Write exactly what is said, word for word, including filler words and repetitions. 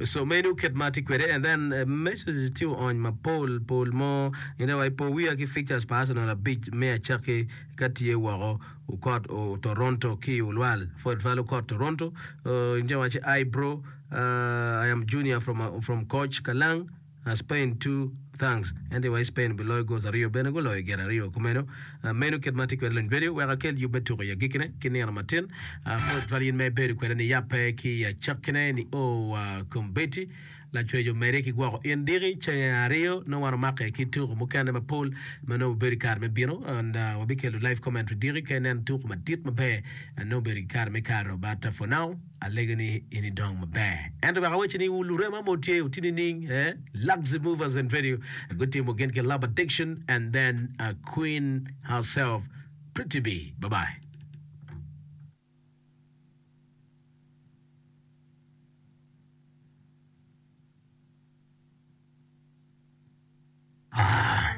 So meno kit ma tye kwede and then uh, messages tye oony mapol pol mo ine wa ipo wiya ki fixtures pa Arsenal abic me acakki ka tye woko okot o Toronto ki Ulwal for twal okot Toronto uh, inje waci I bro uh, I am junior from uh, from coach Kalang uh, Spain two thanks ento wa Spain biloyo goals aryo bene guloyo gin aryo kumeno uh, meno kit ma tye kwede lony video wek akel yub me tuko i agikine ki nino matin uh, pud twal in ma ibedo kwede ni yappe ki i acakkine ni o uh, kombeddi lacwec omede ki gwoko in diki ceng aryo nongo wan omake ki tuko mukene mapol ma nongo obedo i kare me bino and uh, wabikelo live commentary diki ka inen tuko madit maber uh, nongo obedo ki kare me kato but uh, for now alego ni in idong maber ento wek awacci ni lurema mo tye otini ning eh? Luxy Movers and Video gutimo gin ki Love Addiction and then uh, Queen herself Pretty B bye bye. Ah,